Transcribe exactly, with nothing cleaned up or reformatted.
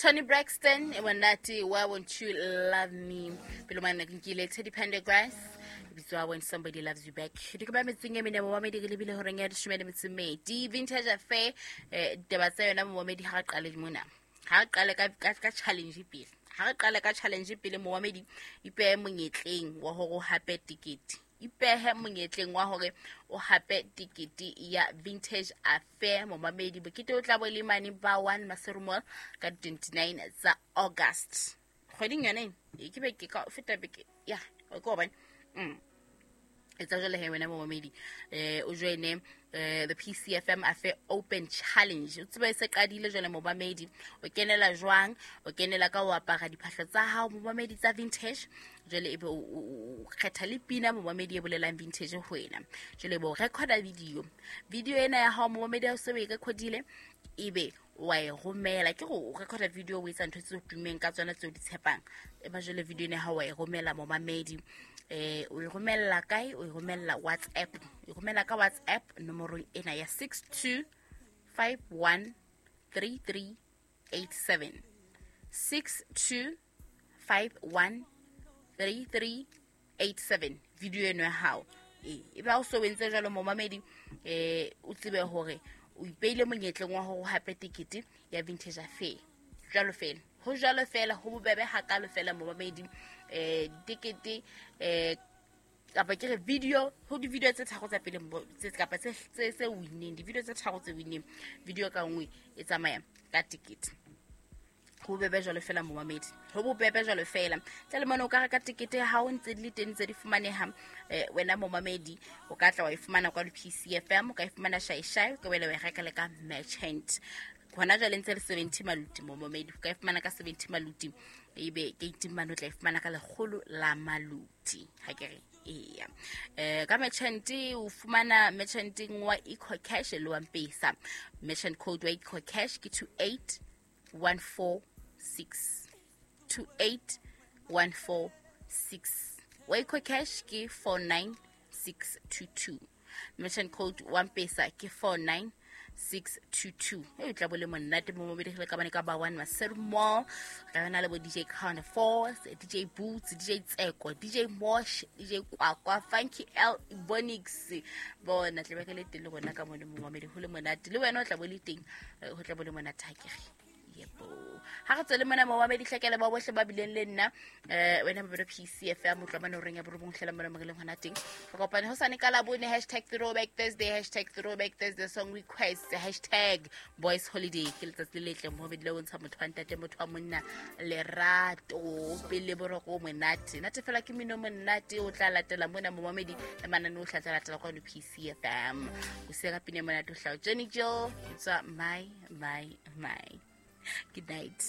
Toni Braxton e monate, Why Won't You Love Me. Pele mane ke nkile Teddy Pendergrass, bitswa When Somebody Loves You Back. Di ke ba metseng e mene momamedi, re lebile horeng ya leshome le metso e mmedi. Vintage Affair, eh ditaba tsa yona momamedi, ha re qale mona, ha re qale ka, ka, ka challenge pele, ha re qale ka challenge pele momamedi. Ipehe monyetleng wa hore o hape tikete, ipehe monyetleng wa hore o hape tikete ya Vintage Affair momamedi. Bokete o tla bo le mane ba one Maseru Mall ka twenty-nine tsa August, kgweding yone ena. E ke beke ka feta beke ya o ke hobane mm etsa jwale he wena momamedi, eh o joine eh the P C F M Affair Open Challenge. O tsebe e se qadile jwale momamedi. O kenela jwang? O kenela ka ho apara diphahlo tsa hao momamedi tsa vintage. Jwale ebe o, o, o kgetha le pina momamedi e bolelang vintage ho wena. Jwale ebe o recorda video. Video ena ya hao momamedi ha o se o e recordile, ebe wa e romela. Ke go recorda video o etsa ntho tse o tummeng ka tsona tseo di tshepang. Eba jwale video ena ya hao wa e romela momamedi. Eh, o e romella kae? O e romella WhatsApp. O e romella ka WhatsApp nomorong ena ya six two five one three three eight seven. six two five one three three eight seven. Video eno ya hao. E, e ba o so entse jwalo momamedi, eh, o tsebe hore o ipeile monyetleng wa hore o hape tikete ya Vintage Affair. Jwalo fela. Ho jwalo fela, ho bobebe hakalo fela momamedi. Eh, tikete, eh, kapa ke re video, ho di-video tse tharo tsa pele mo, tse, kapa tse, tse, tse winneng, di-video tse tharo tse winneng, video ka nngwe e tsamaya ka tikete. Ho bobebe jwalo fela momamedi, ho bobebe jwalo fela. Tla le mona o ka reka tikete ya hao ntse di le teng, ntse di fumaneha. Eh, wena momamedi o ka tla wa e fumana kwa P C F M, o ka e fumana Shai Shai, o ka boela wa e reka le ka merchant. Hona jwale ntse le seventy maluti momamedi, o ka e fumana ka seventy maluti, ebe gate mane o tla e fumana ka lekgolo la maluti. Ha ke re eya. Eh, ka merchant o fumana merchanteng wa EcoCash le wa M-Pesa. Merchant code wa EcoCash ke two eight one four six. two eight one four six. Wa EcoCash ke four nine six two two. Merchant code wa M-Pesa ke four nine six two two. E tla bo le monate mo mobedi le ka bane ka ba one Maseru Mall. Re na le bo D J Count Force, D J Boots, D J Tseko, D J Mosh, D J Kwakwa, Funky L, Bonix. Bona tla be ke le teng le rona ka mone mo mobedi ho le monate. Le wena o tla bo le teng, ho tla bo le monate ha ke re. Yebo. Ha re tswele mona momamedi hlekele ba bohle ba bileng le nna, eh, wena Mabelo P C F M, utlwa mane o reng ya borobong hlela mona mo re leng hona teng. Re kopane hosane ka Labone, hashtag Throwback Thursday, hashtag Throwback Thursday song request, hashtag Boys Holiday. Ke letsatsi le letle momamedi le bontsha motho wa ntate, motho wa monna lerato, pele boroko monate. Nate fela ke mino monate o tla latela mona momamedi le manane o tla tla latela kwa P C F M. O se ka pine monate o hlao Jenny Jill, it's my, my, my. Good night.